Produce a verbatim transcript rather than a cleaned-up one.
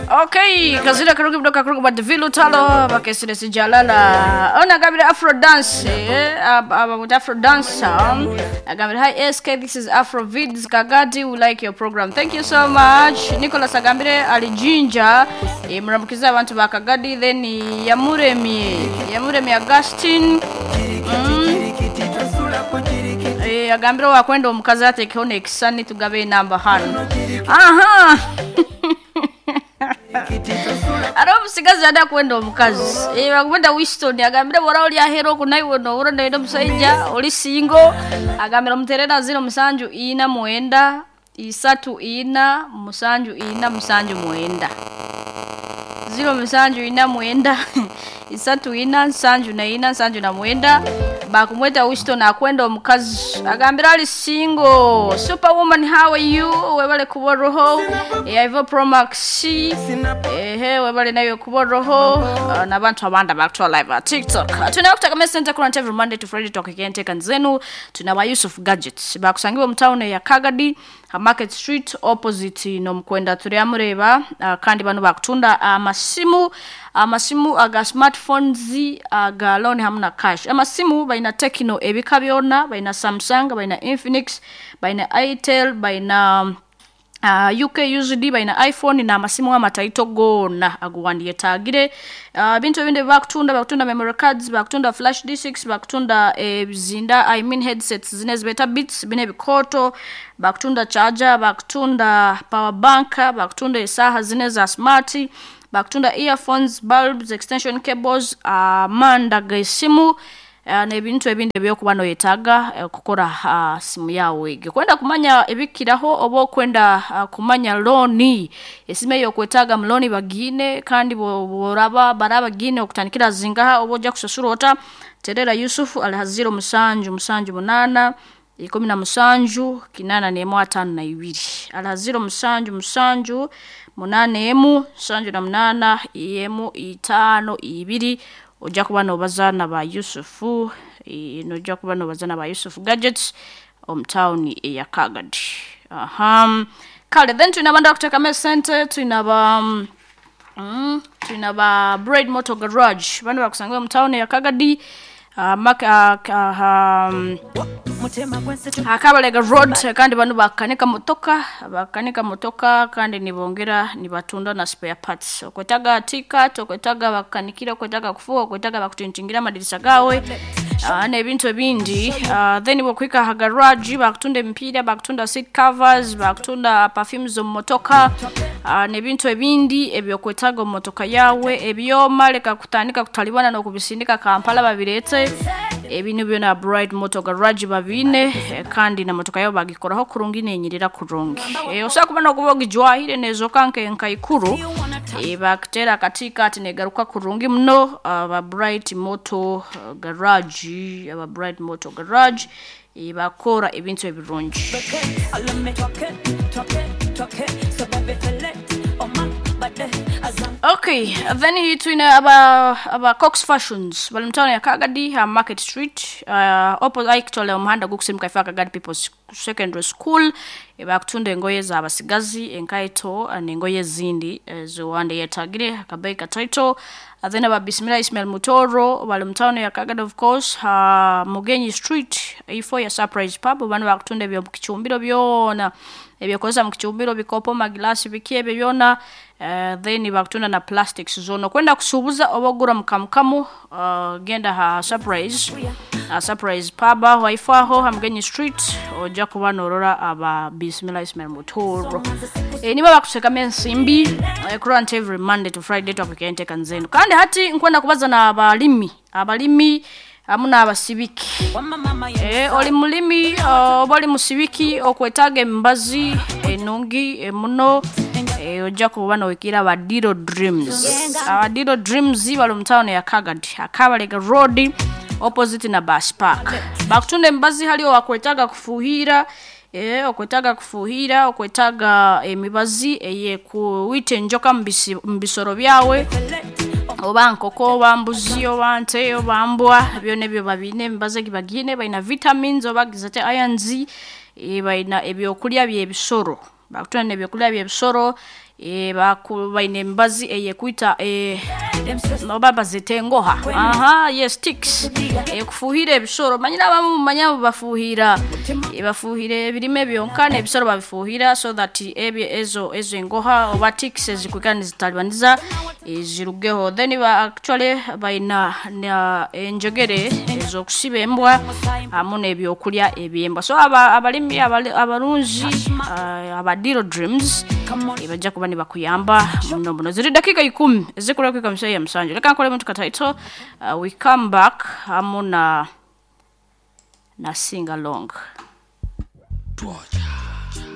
Okay, kazira karugi mdoka karugi badivilu talo bakesire sijalala. Ona gabire Afro dance eh ab- about Afro dance. Um, agambire hi S K, this is Afro Vids Kagadi, we like your program. Thank you so much. Nicholas agambire alijinja eh, muramukiza abantu ba Kagadi, then Yamuremi Yamuremi Augustine. Mm. Eh, agambire wakwenda omukazi atekeho nekisani tugabe enamba hano. Aha. Ari omusigazi yada kwenda omukazi eh, bakwenda Winston agambire bora oli ahero kunaiwe no uro ndenda omusaija oli single agambire omuterera zero musanju ina mwenda isatu ina musanju ina musanju mwenda zero musanju ina mwenda isatu ina nsanju na ina nsanju na mwenda bakumweta Winston akwenda omukazi agambira ali single. Superwoman, how are you? Webale kuboroho eh, Ivo Promax ehe webale nayo kuboroho uh, nabantu abanda bakutwa live at TikTok. Tuna kutaka center current every Monday to Friday talk again take zenu. Tuna wa Yusuf Gadgets bakusangiwe mu town ya Kagadi ha Market Street opposite no mkwenda turiamureba uh, kandi bano bakutunda amasimu amasimu aga smartphones aga loan hamna cash. Amasimu baina Tecno ebika byona, baina Samsung, baina Infinix, baina Itel, baina Uh, U K U D, baina iPhone na amasimu amataito gona aguwandiye tagire. Uh, bintu ebindi bakutunda, bakutunda memory cards, bakutunda flash discs, bakutunda ebizinda, eh, I mean headsets zine zibeta beats bine bikoto, bakutunda charger, bakutunda power bank, bakutunda isaha zine za smart, bakutunda earphones, bulbs, extension cables, amanda uh, gesimu uh, n'ebintu ebindi ebyokuba noyetaaga uh, kukora uh, simu yawe. Kwenda kumanya ebikiraho oba okwenda uh, kumanya looni esimu eyo okwetaaga mu looni bagine kandi boraba baraba gine okutandikira zingaha oba ojja kusasura ota. Terera Yusuf alihaziro musanju musanju munana ikumi na musanju kinana nemu atano na ibiri alihaziro musanju musanju munane emu sanju na munana emu itano ibiri ojja kuba nobaza ba Yusufu e, nojja kuba nobaza ba Yusuf Gadgets omu town eya Kagadi. Aha. Kale then tulina banda kuteka center tulina ba mm, tulina ba Braid Motor Garage bano bakusangiwa mu town ya Kagadi uh, mak, uh, um, Akabalega Road kandi bano bakanika motoka bakanika motoka kandi nibongera nibatunda na spare parts. Okwetaga ticket, okwetaga bakanikira, okwetaga kufuwa, okwetaga bakutintingira amadirisa gawe uh, n'ebintu ebindi. Uh, then bokwika ha garage bakutunda emipiira, bakutunda seat covers, bakutunda perfumes omu motoka uh, n'ebintu ebindi ebyokwetaga omu motoka yawe ebyoma leka kutandika kutalibana n'okubisindika Kampala babirete ebintu byona Bright Motor Garage babine kandi na motoka yao bagikoraho kurungi nenyirira kurungi. E, osaba kuba nokuba ogijwahire nezoka nke nkaikuru e, bakutera katika ati negaruka kurungi muno aba Bright Motor Garage aba Bright Motor Garage e, bakora ebintu ebirungi. Okay, then tulina aba aba Cox Fashions bali mtano ya Kagadi ha Market Street uh, opposite actually omuhanda gukusimuka ifa Kagadi People's Secondary School e, bakutunda engoye z'abasigazi enkaito n'engoye zindi zowande yetagire akabeyi kataito. Then aba Bismillah Ismail Mutoro bali mtano ya Kagadi of course ha Mugenyi Street ifo ya Surprise Pub bano bakutunda ebyo kichumbiro byona ebyokozesa mu kichumbiro bikopo magilasi bikiebe byona. Uh, then bakutunda na plastics zone kwenda kusubuza oba ogura mukamukamu uh, genda ha Surprise uh, Surprise Pub waifaho ha Mugenyi Street ojja kuba norora aba Bismillah Ismail Mutoro. E, niba bakuseka ensimbi e, current every Monday to Friday twakente kanzenu kandi hati nkwenda kubaza na abalimi abalimi amuna abasibiki. E, oli mulimi oba oli musibiki okwetaaga embazi enungi emuno e, ojja kuba nowekira aba Diro Dreams. Aba Diro Dreams bali mu town ya Kagadi Akabalega Road opposite na Bus Park. Bakutunda embazi haliwo wakwetaaga kufuhira e, okwetaaga kufuhira okwetaaga emibazi eye kuwita enjoka mu bisoro byawe oba nkoko oba mbuzi oba nte oba mbwa byona ebyo babine emibazi egibagine balina vitamins oba gizate irons e, balina ebyokulya byebisoro bakutunda nebyokulya byebisoro e, baku- baine emibazi eyekwita e, oba bazita engoha, aha, yes, ticks, ekufuhira ebisoro. Manyire abamu mumanya bafuhira, eh, bafuhira ebirime byonka, n'ebisoro babifuhira so that ebyo ezo ezo engoha oba ticks ezikwikara nizitalibaniza, eh, zirugeho. Then ba actually baina na enjegere ez'okusiba embwa hamu n'ebyokulya ebyembwa. So aba, abalimi abali- abarunzi, uh, aba Diro Dreams, eh, bajja kuba nibakuyamba muno muno. Ziri dakika ikumi ezikura kwika musayi ya musanju. Reka nkole muntu kataito, uh, we come back hamu na na sing along. Twaja.